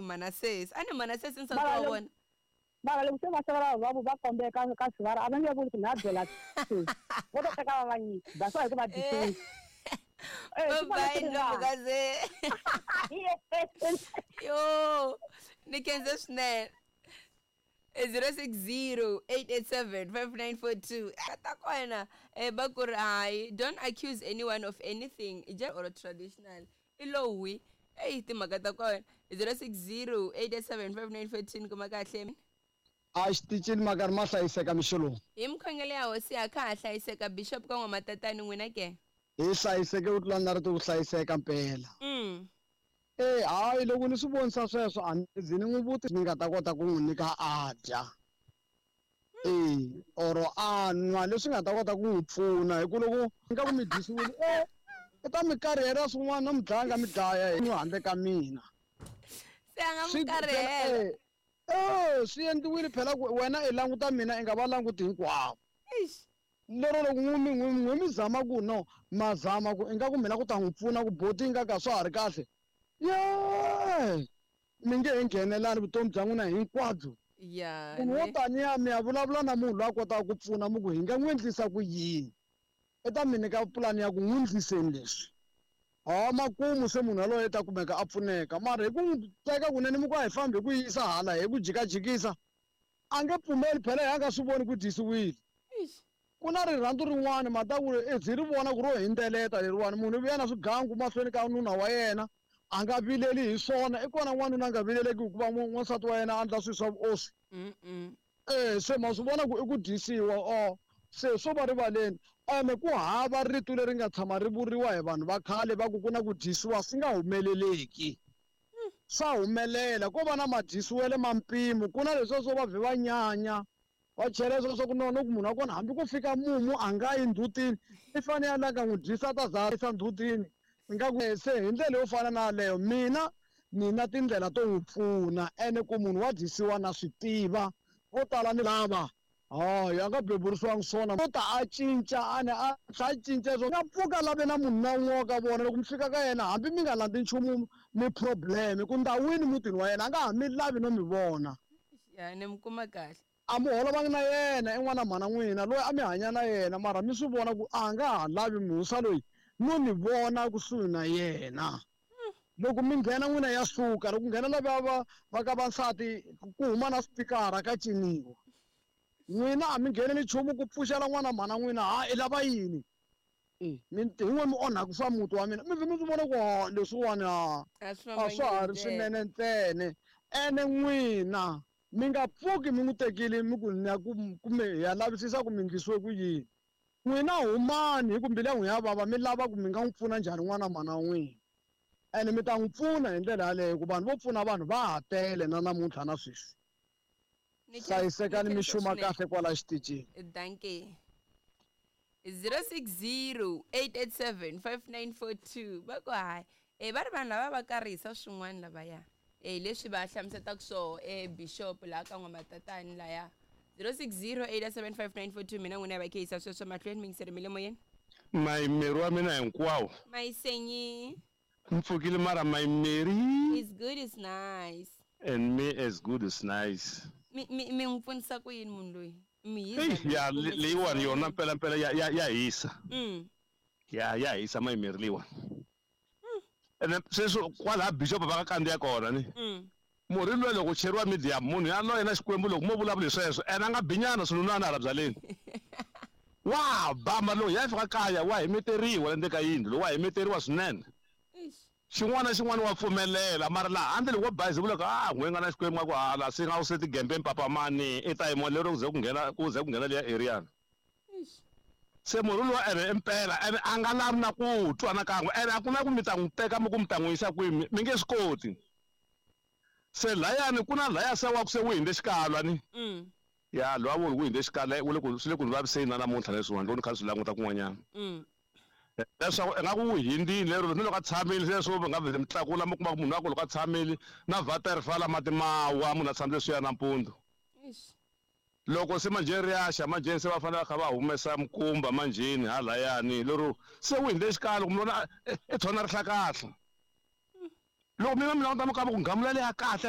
Manasesi a ni Manasesi nsati Mara wa loko- vona. Mara loko se va xavela va va kombeka ka sivara a va nge vuli ku na byela sesi vo to teka va va nyika that's why hi ku va dyisiwile. Eh, Bye swi vona bye swi ri Ndlovukazi. kahle. Yo, ni khense swinene. 060-887-5942 ta kona va ku ri hayi, don't accuse anyone of anything just or traditional i lowi eyi timhaka ta kona. 060-887-5942 kuma kahle. A xitichini makari ma hlayiseka mixo lowu. Hi mikhongelo ya hosi ya kha ha hlayiseka bishop ka n'wamatatani n'wina ke? Hi hlayiseke ku tlula na rito ku hlayiseka mpela. Eh hayi loko ni swi vonisa sweswo a ni zi ni n'wi vuti ni nga ta kota ku n'wi nyika a dya. Eh or a nwa leswi nga ta kota ku n'wi pfuna hi ku loko nga ku mi dyisiwile i ta mi karihela swin'wana no mi dlaya nga mi dlaya hi n'wi handle ka mina. Se a nga mi karihela. Swi endliwile phela ku wena i languta mina i nga va languti hinkwavo. Eish. Lero loko n'wi mi zama ku no ma zama ku ingaku mina ku ta n'wi pfuna ku boti nga ka swa ha ri kahle. Ye! Mi nge he nghenelani vutomi bya n'wina hinkwabyo. Ya, Munhu wo ne. taniya mi ya vulavula na munhu loyi a kotaka ku pfuna mi ku hi nga n'wi endlisa ku yini. I ta mi nyika pulani ya ku n'wi endliseni leswi. Ha makumu se munhu yaloye ta kumeka a pfuneka. Mara hi ku n'wi teka kunene mi ku a hi fambi hi ku yisa hala hi ku jikajikisa, a nge pfumeli phela hi a nga swi voni ku dyisiwile. Eish. Ku na rirhandzu rin'wana mata ku ri byi ri vona ku ro hindzeleta leriwani munhu u vuya na swigangu mahlweni ka nuna wa yena a nga vileli hi swona. I kona n'wanuna a nga vileleki hikuva n'wansati wa yena a endla swilo swa vuoswi. Se ma swi vona ku i ku dyisiwa o se swo va rivaleni. Ene ku hava rito leri nga tshama ri vuriwa hi vanhu va khale va ku ku na ku dyisiwa swi nga humeleleki. Swa humelela ko va na madyisiwele ma mpimo ku na leswiya swo va vhe va nyanya va chela leswo swa ku no no ku munhu wa kona hambi ku fika mumu a nga yi ndzhutini i fanele a langa n'wi dyisa ta za yisa ndzhutini. Nga ku se hi ndlela yo fana na yaleyo mina ni na tindlela to n'wi pfuna ene ku munhu wa dyisiwa na swi tiva vo tala ni lava hayi a nga beburiwanga swona u ta a cinca a ne a tlha a cinca swo nga pfuka lave na munhu na un'we wa ka vona loko mi fika ka yena hambi mi nga landzi nchumu mi problem ku ndhawini mutini wa yena a nga ha mi lavi no mi vona. Ya ni mi kuma kahle. A mi holovangi na yena i n'wana mhana n'wina loyi a mi hanya na yena mara mi swi vona ku a nga ha lavi musa loyi no mi vona kusuhi na yena. Loko mi nghena n'wina ya suka loko nghena lava va ka vansati ku huma na spikara ka ciniwa. N'wina a mi ngheneli nchumu ku pfuxela n'wana mhana n'wina ha i lava yini. Mi hi n'we mi onhaka swa muti wa mina mi vhe mi swi vona ku ha leswiwani A swi a swa ha ri swinene ntsena. Ene n'wina mi nga pfuki mi n'wi tekile mi ku ni ya ku kumbe hi ya lavisisa ku mi endlisiwe ku yini. N'wina humani hi ku mbilu ya n'wina ya vava mi lava ku mi nga n'wi pfuna njhani n'wana mhana wa n'wina. Ene mi ta n'wi pfuna hi ndlela yaleyo ku vanhu vo pfuna vanhu va ha tele na namuntlha na sweswi. Hlayisekani mi xuma kahle kwala xitichini. Dankie. 060-887-5942 va ku hayi va ri vanhu lava va karihisa swin'wana lavaya leswi va hlamusetaka swoho bishop laha ka n'wamatatani laya. 060-887-5942 mina n'wina va khehisa sweswo mahlweni mi yingiseri mi le moyeni. Mayimeri wa mina hinkwawo. Mayisenyi. Mpfukile mara mayimeri. It's good, it's nice. And me as good as nice. Mi mi n'wi pfunisa ku yini munhu loyi? Mi hisa. Ya leyiwani yona mpela mpela ya hisa. Ya hisa mayimeri leyiwani. Ene sweswo kwalaha bishop va ka kandziya kona ni. Murhi luya loko cheriwa medium munhu yaloye na Xikwembu loko mo vulavula hi sweswo ene a nga binyana swinunwana hala byaleni. Wa ba mara loko ya fika kaya wa himeteriwa le ndzeni ka yindlu lowu wa himeteriwa swinene. Xin'wana na xin'wana wa pfumelela mara laha handle loko wo bayiza vula ku a n'we nga na Xikwembu nga ku hala se nga u se tigembeni papa mani i ta yima lero ku ze ku nghena ku ze ku nghena liya area. Se munhu luwa ene impela ene a nga lavi na ku twa na kan'we ene a ku na ku mi ta n'wi teka mi ku mi ta n'wi yisa kwihi mi nge swi koti. Se layani ku na laya se wa ku se wu hindze xikalwa ni. Ya lowa wu hindze xikalwa wu le ku swi le ku ni vaviseni na namuntlha leswiwani loko ni kha ni swi languta kun'wanyana. Leswaku ingaku wu hindzile lero ni loko a tshamile sweswo mi nga vhele mi tlakula mi kuma ku munhu wa ku loko a tshamile na vata ri fala mati ma wa munhu a tshamile swiya nampundzu. Loko se manjheni ri ya xa manjheni se va fanele va kha va humesa mikumba manjheni halayani lero se wu hindze xikalo kumbe lona i tshona rihlakahla. Loko mina mi languta mi kamba ku nghamula leya kahle.